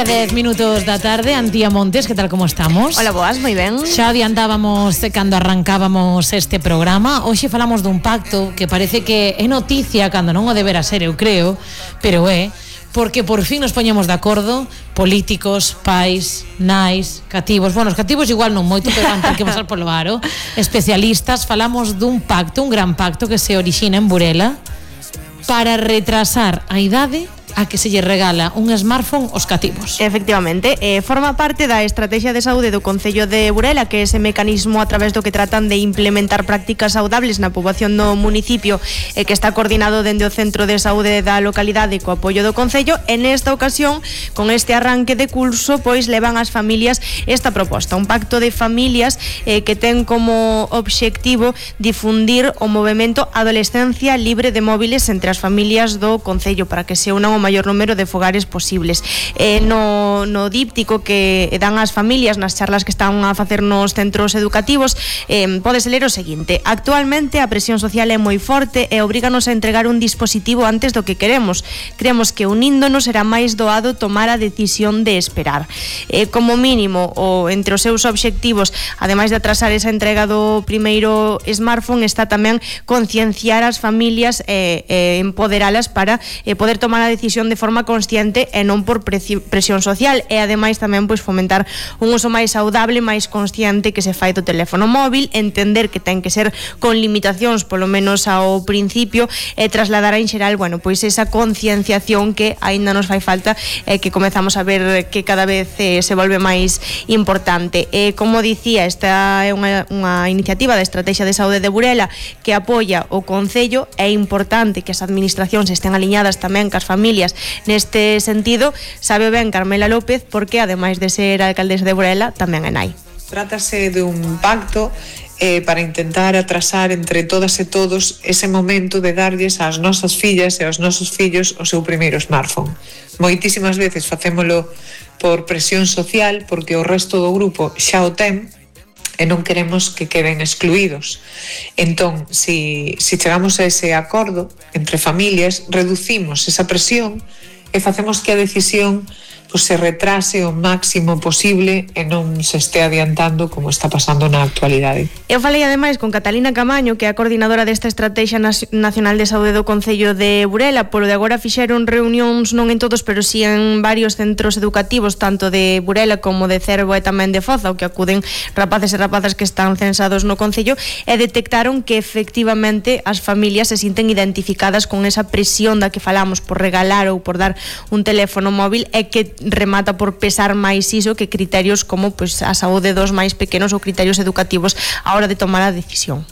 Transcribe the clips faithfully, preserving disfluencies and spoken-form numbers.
dez minutos da tarde, Antía Montes, que tal, como estamos? Hola, boas, moi ben. Xa adiantábamos cando arrancábamos este programa. Hoxe falamos dun pacto que parece que é noticia cando non o debera ser, eu creo, pero é porque por fin nos poñemos de acordo políticos, pais, nais, cativos. Bueno, os cativos igual non moito, pero van ter que pasar polo aro. Especialistas, falamos dun pacto, un gran pacto que se orixina en Burela para retrasar a idade a que se lle regala un smartphone aos cativos. Efectivamente, eh, forma parte da estrategia de saúde do Concello de Burela, que é ese mecanismo a través do que tratan de implementar prácticas saudables na poboación do municipio, eh, que está coordinado dende o Centro de Saúde da localidade co apoio do Concello. En esta ocasión, con este arranque de curso, pois levan ás familias esta proposta, un pacto de familias eh, que ten como obxectivo difundir o movemento Adolescencia Libre de Móviles entre as familias do Concello para que se unan o maior número de fogares posibles. Eh, no, no díptico que dan as familias nas charlas que están a facer nos centros educativos, eh, podes ler o seguinte: actualmente a presión social é moi forte e obríganos a entregar un dispositivo antes do que queremos. Creemos que uníndonos será máis doado tomar a decisión de esperar. Eh, como mínimo, o entre os seus obxectivos, ademais de atrasar esa entrega do primeiro smartphone, está tamén concienciar as familias e eh, eh, empoderalas para eh, poder tomar a decisión de forma consciente e non por presión social, e ademais tamén pois fomentar un uso máis saudable, máis consciente que se fai do teléfono móvil, entender que ten que ser con limitacións polo menos ao principio, e trasladar en xeral, bueno, pois esa concienciación que aínda nos fai falta e que comezamos a ver que cada vez eh, se volve máis importante. E como dicía, esta é unha, unha iniciativa da Estrategia de Saúde de Burela que apoia o Concello. É importante que as administracións estén aliñadas tamén cas familias neste sentido. Sabe ben Carmela López, porque ademais de ser alcaldesa de Burela, tamén é nai. Trátase de un pacto eh, para intentar atrasar entre todas e todos ese momento de darlles ás nosas fillas e aos nosos fillos o seu primeiro smartphone. Moitísimas veces facémolo por presión social, porque o resto do grupo xa o ten e non queremos que queden excluídos. Entón, si, si chegamos a ese acordo entre familias, reducimos esa presión e facemos que a decisión pues, se retrase o máximo posible e non se este adiantando como está pasando na actualidade. Eu falei ademais con Catalina Camaño, que é a coordinadora desta Estrategia Nacional de Saúde do Concello de Burela. Polo de agora fixeron reunións non en todos, pero si en varios centros educativos, tanto de Burela como de Cervo e tamén de Foza, o que acuden rapaces e rapazas que están censados no Concello, e detectaron que efectivamente as familias se sinten identificadas con esa presión da que falamos por regalar ou por dar un teléfono móvil, e que remata por pesar máis iso que criterios como pues, a saúde dos máis pequenos ou criterios educativos a hora de tomar a decisión.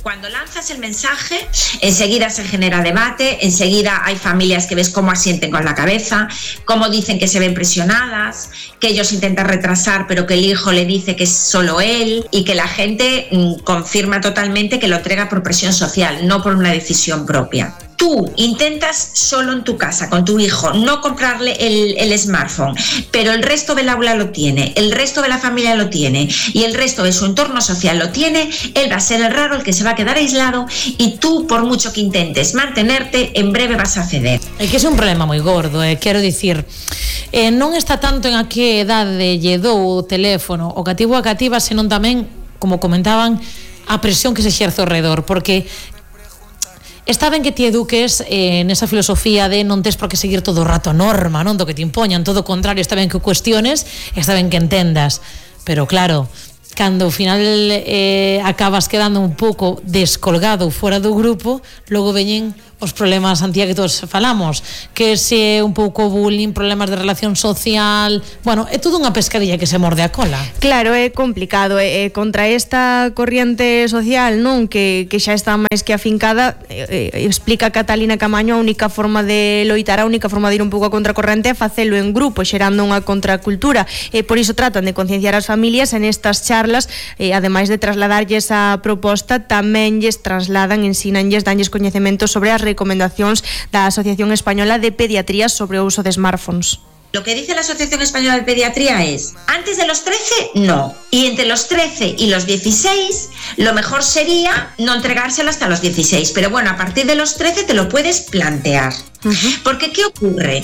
Cuando lanzas el mensaje, enseguida se genera debate, enseguida hay familias que ves cómo asienten con la cabeza, cómo dicen que se ven presionadas, que ellos intentan retrasar pero que el hijo le dice que es solo él, y que la gente mmm, confirma totalmente que lo entrega por presión social, no por una decisión propia. Tú intentas solo en tu casa con tu hijo no comprarle el, el smartphone, pero el resto del aula lo tiene, el resto de la familia lo tiene y el resto de su entorno social lo tiene. Él va a ser el raro, el que se va a quedar aislado, y tú, por mucho que intentes mantenerte, en breve vas a ceder. É que é un problema moi gordo, eh, quero dicir, eh, non está tanto en a que edade lle dou o teléfono o cativo a cativa, senón tamén, como comentaban, a presión que se exerce ao redor, porque está ben que ti eduques eh, nesa filosofía de non tes por que seguir todo o rato a norma, non do que te impoñan, todo o contrario, está ben que o cuestiones, está ben que entendas, pero claro, cando ao final eh, acabas quedando un pouco descolgado fora do grupo, logo veñen os problemas, Antía, que todos falamos, que se un pouco bullying, problemas de relación social, bueno, é todo unha pescadilla que se morde a cola. Claro, é complicado, e eh, contra esta corriente social, non, que, que xa está máis que afincada, eh, eh, explica Catalina Camaño, a única forma de loitar, a única forma de ir un pouco a contracorrente é facelo en grupo, xerando unha contracultura, e eh, por iso tratan de concienciar as familias en estas charlas, eh, ademais de trasladarlles a proposta, tamén lles trasladan, ensínanlles, danlles coñecementos sobre as recomendacións da Asociación Española de Pediatría sobre o uso de smartphones. Lo que dice la Asociación Española de Pediatría es, antes de los trece, no. Y entre los trece y los dieciséis, lo mejor sería no entregárselo hasta los dieciséis. Pero bueno, a partir de los trece te lo puedes plantear. Uh-huh. Porque, ¿qué ocurre?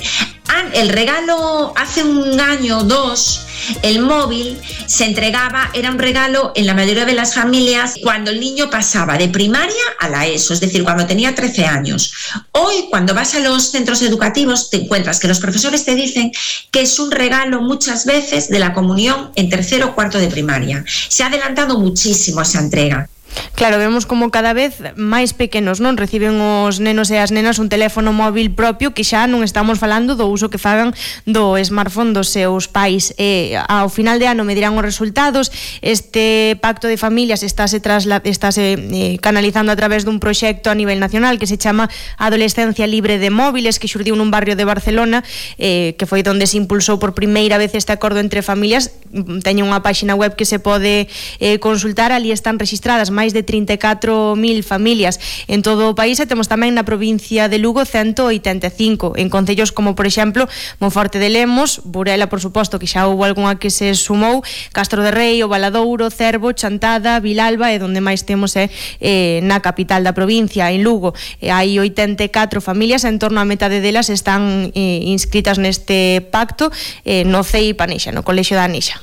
el regalo hace un año o dos, el móvil se entregaba, era un regalo en la mayoría de las familias cuando el niño pasaba de primaria a la ESO, es decir, cuando tenía trece años. Hoy, cuando vas a los centros educativos, te encuentras que los profesores te dicen que es un regalo muchas veces de la comunión en tercero o cuarto de primaria. Se ha adelantado muchísimo esa entrega. Claro, vemos como cada vez máis pequenos non reciben os nenos e as nenas un teléfono móvil propio, que xa non estamos falando do uso que fagan do smartphone dos seus pais. E ao final de ano me dirán os resultados. Este pacto de familias estáse, trasla, estáse eh, canalizando a través dun proxecto a nivel nacional que se chama Adolescencia Libre de Móviles, que xurdiu nun barrio de Barcelona, eh, que foi onde se impulsou por primeira vez este acordo entre familias. Teño unha páxina web que se pode eh, consultar, ali están registradas máis de trinta e catro mil familias en todo o país, e temos tamén na provincia de Lugo ciento oitenta e cinco, en concellos como, por exemplo, Monforte de Lemos, Burela, por suposto, que xa houve algunha que se sumou, Castro de Rei, O Valadouro, Cervo, Chantada, Vilalba, e donde máis temos é eh, na capital da provincia, en Lugo. E hai oitenta e catro familias, en torno a metade delas están eh, inscritas neste pacto eh, no C E I Panexa, no Colexio da Anexa.